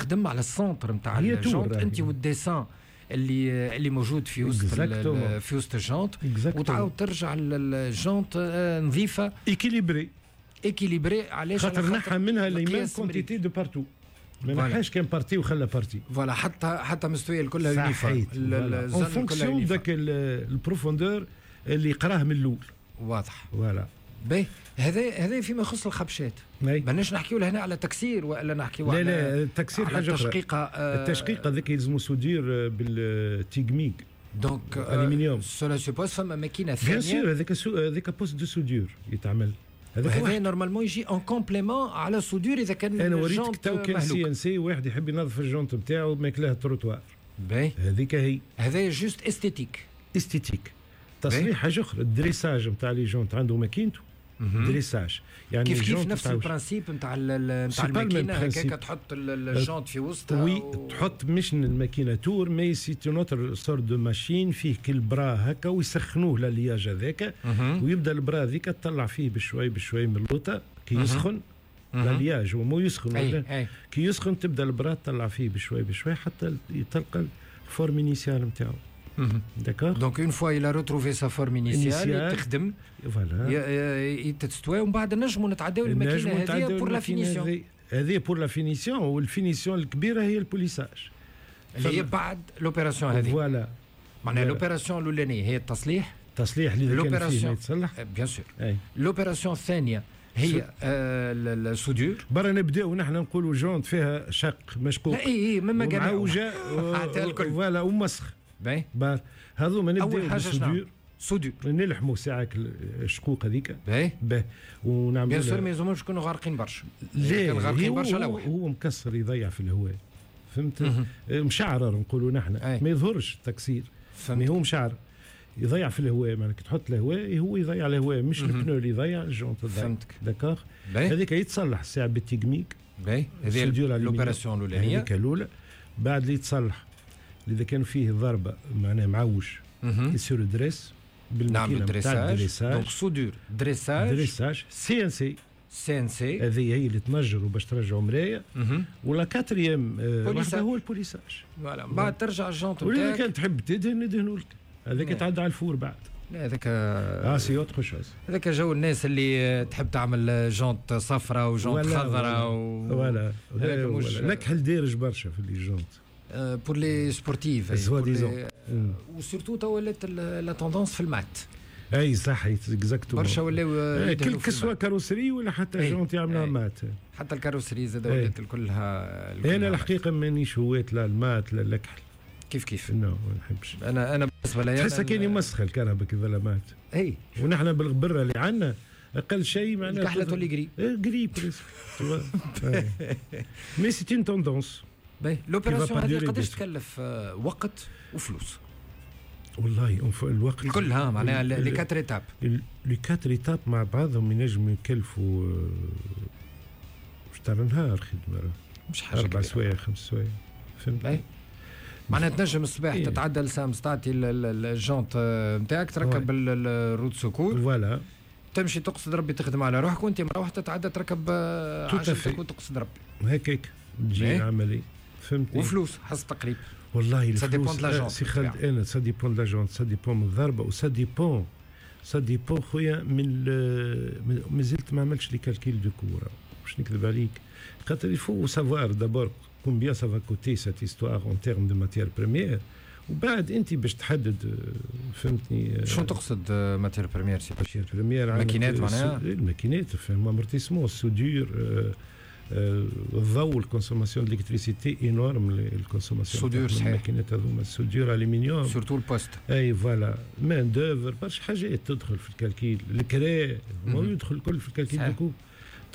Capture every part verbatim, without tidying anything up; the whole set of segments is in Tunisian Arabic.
تخدم على ال centre نتاع ال jante انت وال dessin اللي اللي موجود في وسط في وسط ال jante، وتعاود ترجع ال jante نظيفه، équilibrée. équilibrée، علاش؟ خاطر نحى منها les mêmes quantités de partout، ما نحاش كان partie وخلى partie. voilà، حتى حتى مستوية كلها uniforme en fonction ذاك ال profondeur اللي قراه من الاول. واضح. voilà. باهي، هذا هذا فيما يخص الخبشات. ماناش نحكيو لهنا على تكسير والا نحكيو على، لا لا، التكسير حاجة اخرى. التشقيقه. آه التشقيقه ذاك يلزمو soudure بال TIG MIG. donc aluminium. cela suppose فما ماكينة ثانيه. bien sûr، هذاك هذاك poste de soudure يتعمل. هذا هذا normalement يجي en complément على soudure اذا كان. انا وريتك تو كان CNC، واحد يحب ينظف ال jante نتاعو ماكلاه التروتوار. باهي. هذيك هي. هذا juste esthétique. esthétique. تصليح حاجة اخرى، ال dressage نتاع les jantes عنده ماكينته dressage. يعني كيف كيف نفس ال principe نتاع نتاع الماكينه، هكاك تحط ال jante في وسطها. oui و... تحط مش الماكينة tour، mais c'est une autre sorte de machine، فيه كل bras هكا ويسخنوه l'alliage هذاك، ويبدا ال bras هذيك تطلع فيه بشوي بشوي من اللوطه كي يسخن l'alliage، هو مو يسخن. أي. أي. كي يسخن تبدا ال bras تطلع فيه بشوي بشوي حتى تلقى ال forme initiale نتاعو. d'accord، donc une fois il a retrouvé sa forme initiale تخدم. voilà. تستوي، ومن بعد نجموا نتعداو الماكينة هذه pour la finition. هذه pour la finition، وال finition الكبيرة هي ال polissage. اللي هي بعد l'opération هذه. voilà. معناها l'opération الاولانية هي التصليح. التصليح اللي كان فيه يتصلح. bien sûr. l'opération الثانية هي آه ال soudure. برا نبداو نحن نقولوا jante فيها شق مشقوق. لا، اي اي مما كان معوجة، voilà، ومسخ. باهي. هذوما نبداو اول حاجة شنو؟ soudure. نلحموا ساعة الشقوق هذيك. باهي. باهي، ونعملوا bien sûr ما يلزموش يكونوا غارقين برشا. لا، غارقين برشا هو, هو مكسر يضيع في الهواء، فهمت؟ مشعرر نقولوا نحن، ما يظهرش التكسير، mais هو مشعر يضيع في الهواء. معناها كي تحط الهواء هو يضيع الهواء، مش ال pneu اللي يضيع، ال jante تضيع. فهمتك. d'accord، هذيك يتصلح الساعة بال TIG MIG. باهي، هذه l'opération الاولانيه. هذيك الاولى. بعد اللي يتصلح، اذا كان فيه ضربه معناها معوج يصير dresse. بالماكينه نتاع dressage، donc soudure، dressage. dressage، CNC. CNC. هذه هي اللي تنجروا باش ترجعوا مرايه. و la quatrième واحدة هو ال polissage. voilà، بعد ترجع ال jante. ولا كان تحب تدهن ندهنوا لك، هذاك يتعدى على ال four بعد. لا، هذاك اه c'est autre chose. هذاك جو الناس اللي تحب تعمل jante صفراء و jante خضراء و voilà. مش لك دارج برشا في les jantes. pour les sportifs. soi-disant. و surtout تو ولات la tendance في ال mat. اي صح، exactement. برشا ولاو. quel que soit carrosserie ولا حتى jante يعملها mat. حتى ال carrosserie زاد ولات كلها. انا الحقيقة مانيش هوات لا ال mat لا الكحل. كيف كيف. non، ما نحبش. انا انا بالنسبة لي تحسها كان يمسخ الكرهبه كي mat. اي. ونحن بالغبره اللي عندنا اقل شيء معناها الكحله تولي gris. gris presque، mais c'est une tendance. باهي، l'opération هذه قداش تكلف آه، وقت وفلوس؟ والله الوقت كلها، معناها les quatre étapes. les quatre étapes مع بعضهم ينجموا يكلفوا مش تاع نهار خدمه. مش حاجة. اربع سوايع، خمس سوايع، فهمت؟ معناها تنجم الصباح إيه؟ تتعدى لسامس، تعطي ال jante نتاعك، تركب ال roue de secours. voilà. تمشي تقصد ربي تخدم على روحك، وانت مروح تتعدى تركب عجلتك وتقصد ربي. هكاك تجي العمليه، فهمتني؟ وفلوس حسب تقريب؟ والله ça dépend la jante. سي خالد، انا ça dépend la jante، ça dépend من الضربه، و ça dépend ça dépend خويا من مازلت ما عملتش les calculs de coût، باش نكذب عليك، خاطر il faut savoir d'abord combien ça va coûter cette histoire en termes de matière première، وبعد انت باش تحدد، فهمتني؟ شنو تقصد matière première سي؟ matière première. ماكينات معناها؟ الماكينات، فهم، amortissement، ال soudure، الضوء، ال consommation d'électricité énorme، ال consommation soudure صحيح. الماكينات هذوما ال soudure aluminium. surtout ال poste. اي voilà، main d'œuvre، برشا حاجات تدخل في ال calcul، الكرا يدخل الكل في ال calcul de coût.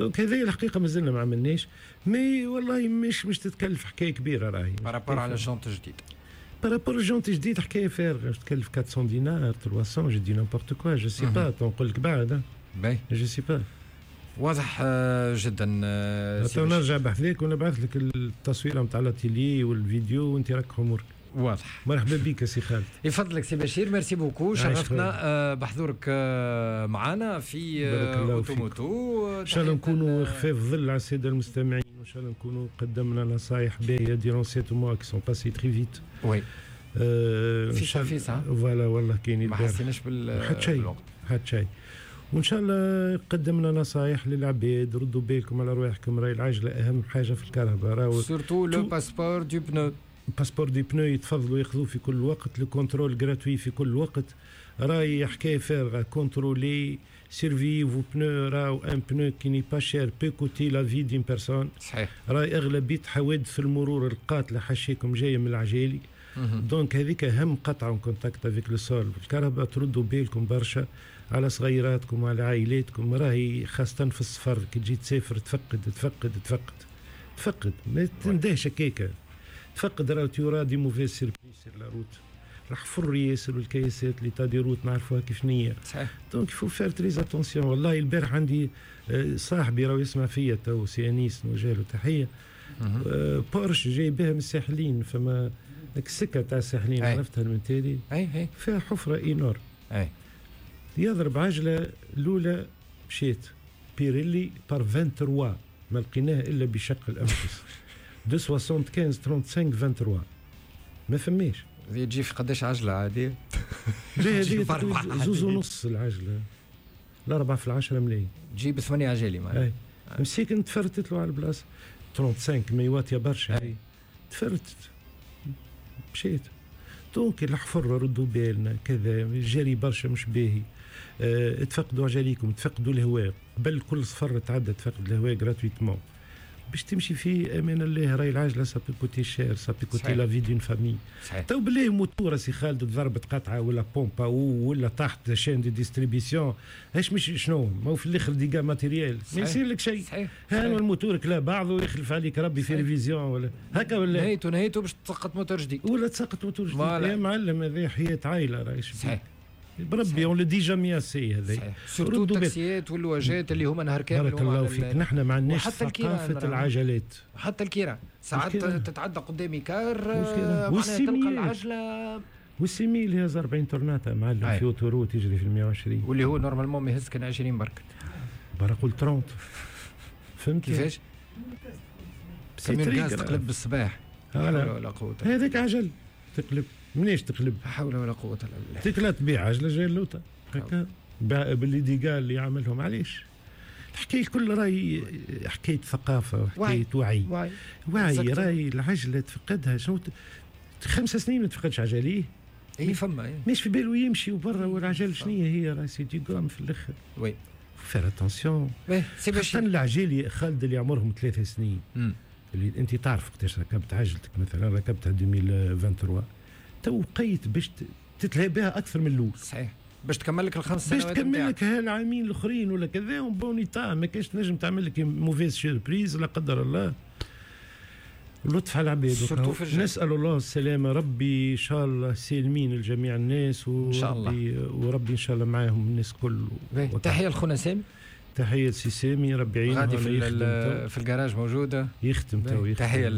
donc هذه الحقيقة مازلنا ما عملناش، mais والله مش مش تتكلف حكاية كبيرة راهي. par rapport على jante جديد؟ par rapport jante جديد حكاية فارغه، تكلف أربعمية دينار، ثلاثمية، je dis n'importe quoi، je sais pas، نقول لك بعد. باهي. je sais pas. واضح آه، جدا. آه، نرجع بحذاك ونبعث لك التصويره نتاع l'atelier والفيديو وانت راك امورك. واضح. مرحبا بك سي خالد. يفضلك سي بشير، merci beaucoup، شرفتنا آه، بحضورك معنا في Auto Moto. ان شاء الله نكونوا خفاف ظل على السادة المستمعين. وان شاء الله نكونوا قدمنا نصائح باهيه durant sept mois qui sont passés très vite. oui، فيسع فيسع. voilà، والله كاين. ما حسيناش بال حتى شيء، حتى شيء. وان شاء الله قدمنا نصائح للعباد، ردوا بالكم على رواحكم، راهي العجلة اهم حاجة في الكرهبه. راهو surtout le passeport du pneu. passeport du pneu يتفضلوا ياخذوه في كل وقت، le contrôle gratuit في كل وقت. راهي حكاية فارغه، contrôlez، surveillez vos pneus. راهو un pneu qui n'est pas cher peut coûter la vie d'une personne. صحيح. راهي اغلبية حوادث المرور القاتلة حشيكم جاية من العجالي. donc هذيك اهم قطعه en contact avec le sol الكرهبه. تردوا بالكم برشا على صغيراتكم وعلى عائلاتكم. راهي خاصة في السفر، كي تجي تسافر تفقد تفقد تفقد تفقد، ما تندهش هكاكا، تفقد. راهو tu auras des mauvaises surprises sur la route. الحفر ياسر والكياسات، l'état des routes نعرفوها كيف نية. صحيح. donc il faut faire très attention. والله البارح عندي آه، صاحبي راهو يسمع فيا تو، سي انيس، نوجه له تحيه. آه، بورش جاي بها من الساحلين، فما ديك السكة تاع الساحلين عرفتها من تالي. اي اي. فيها حفره énorme. اي. يضرب عجله الاولى مشيت Pirelli par ثلاثة وعشرين، ما لقيناه الا بشق الانفس، مئتين وخمسة وخمسين خمسة وثلاثين ثلاثة وعشرين، ما فماش. تجي في قداش عجله عادي؟ لا، هذه زوز ونص العجله، الأربعة في العشرة ملايين. تجيب ثمانية عجالي معناها. مسيكن تفرتت له على البلاصة، خمسة وثلاثين ما يواتيا برشا، تفرتت مشيت. donc الحفر ردوا بالنا، كذا الجري برشا مش باهي. اه تفقدوا عجاليكم، تفقدوا الهواء قبل كل سفر تعدى، تفقد الهواء gratuitement باش تمشي في امان الله. راهي العجلة ça peut coûter cher، ça peut coûter la vie d'une famille. تو بالله موتور سي خالد ضربت قطعه ولا pompe ولا طاحت chaîne de distribution، اش مش شنو؟ ما هو في الاخر dégâts matériels، ما يصير لك شيء. صحيح. ها الموتور كلا بعضه يخلف عليك ربي في révision ولا هكا ولا نهيتو نهيتو باش تسقط موتور جديد. ولا تسقط موتور جديد يا معلم، هذه حياة عائلة راهي. صحيح. بربي on le dit jamais assez هذا. surtout التاكسيات واللواجات اللي هما نهار كامل. بارك الله فيك، نحن ما عندناش ثقافة العجلات. حتى الكيران، ساعات تتعدى قدامي car معناها تلقى العجله. وال semi اللي هز أربعين تورناتا معلم في autoroute يجري في مية وعشرين. واللي هو normalement ما يهز كان عشرين برك. برا قول ثلاثين، فهمت؟ كيفاش؟ camion gaz تقلب بالصباح. لا حول ولا قوة. هذاك عجل تقلب، منيش تقلب؟ لا حول ولا قوة الا بالله. تكلا تبيع عجله جاي اللوطه هكا باللي dégâts اللي عملهم. علاش؟ الحكاية الكل راهي حكاية ثقافة وحكاية وعي. وعي، وعي. راهي العجلة تفقدها، شنو خمس سنين ما تفقدش عجليه. اي فما. إيه. مش في باله يمشي وبرا، والعجل شنو هي؟ راهي c'est du gomme في الاخر. oui. faire attention، خاصة العجالي خالد اللي عمرهم ثلاث سنين. مم. اللي انت تعرف وقتاش ركبت عجلتك، مثلا ركبتها ألفين وثلاثة وعشرين، تو وقيت باش تتلهي بها اكثر من الاول. صحيح، باش تكمل لك الخمس سنوات. باش تكمل لك هالعامين الاخرين ولا كذا bon état، ما كاش تنجم تعمل لك mauvaise surprise لا قدر الله. لطف على العباد، نسال الله السلامه، ربي ان شاء الله سالمين لجميع الناس. ان شاء الله، وربي ان شاء الله معاهم الناس كل. تحية لخونا سامي. تحية لسي سامي، ربي يعينه. غادي في في الجراج موجوده. يخدم تو. تحية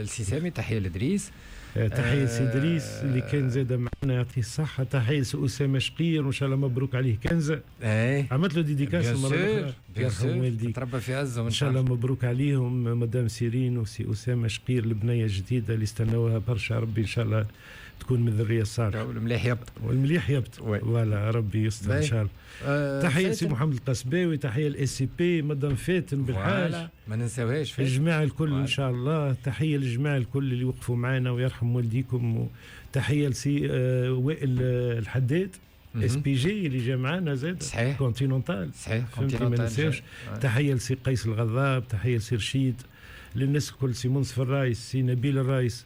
لسي سامي، تحية لادريس. آه، تحية سي ادريس اللي كان زاد معنا، يعطيه الصحه. تحية سي اسامة شقير، وان شاء الله مبروك عليه كنزه. اي. عملت له dédicace المرة الاخرى. يرحم والديك. تربى في عزه. ان شاء الله مبروك عليهم، مدام سيرين وسي اسامة شقير، البنية الجديدة اللي استناوها برشا. ربي ان شاء الله تكون من الذرية الصالحه. والمليح يبط. والمليح يبط، voilà، ربي يستر ان شاء الله. آه تحية سي محمد القصباوي، تحية ال SCP مدام فاتن بالحاج. ما ننساوهاش. الجماعة الكل ان شاء الله. تحية للجماعة الكل اللي وقفوا معنا ويرحم والديكم. تحية لسي آه وائل الحداد SPG اللي جا معنا زاد. صحيح. كونتينونتال. صحيح. كونتينونتال، ما ننساوش. تحية لسي قيس الغضاب، تحية لسي رشيد، للناس الكل، سي منصف الرايس، سي نبيل الرايس،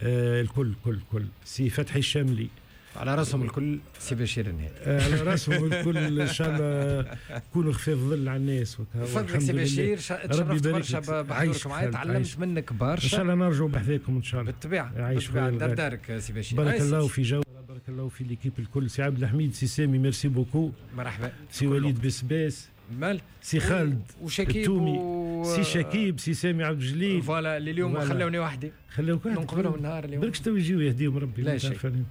آه الكل كل كل، سي فتحي الشاملي. على راسهم الكل سي بشير النهادي. آه، على راسهم الكل، ان شاء الله كونوا خفاف ظل على الناس. فضلك سي بشير، تشرفت برشا بحضورك معايا، تعلمت منك برشا. ان شاء الله نرجعوا بحذاكم ان شاء الله. بالطبيعه، بالطبيعه، دار دارك سي بشير. بارك الله في جو، بارك الله في l'équipe الكل، سي عبد الحميد، سي سامي، merci beaucoup. مرحبا. سي وليد بسباس. مال. سي خالد وشكيب التومي و... سي شكيب، سي سامي عبد الجليل. voilà، اللي اليوم خلوني وحدي. خلوك وحدك. نقبلهم النهار اليوم. بالك تو يجيو يهديهم ربي. لا شيء.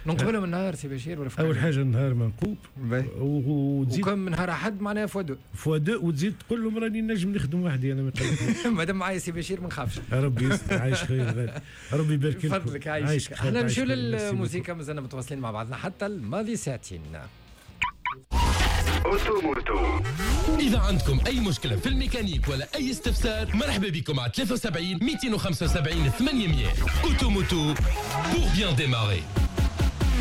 ننقبلهم النهار سي بشير ولا اول حاجة النهار منقوب وتزيد وكم نهار احد معناها fois deux fois deux، وتزيد تقول لهم راني نجم نخدم وحدي انا. مادام معايا سي بشير ما نخافش. ربي يستر، عايش خير، ربي يبارك لك. فضلك عايشك. احنا نمشيو للموسيقى، مازلنا متواصلين مع بعضنا حتى الماضي ساعتين. auto moto. إذا عندكم أي مشكلة في الميكانيك ولا أي استفسار، مرحبا بكم على ثلاثة وسبعين مئتين وخمسة وسبعين ثمانمية. auto moto pour bien démarrer.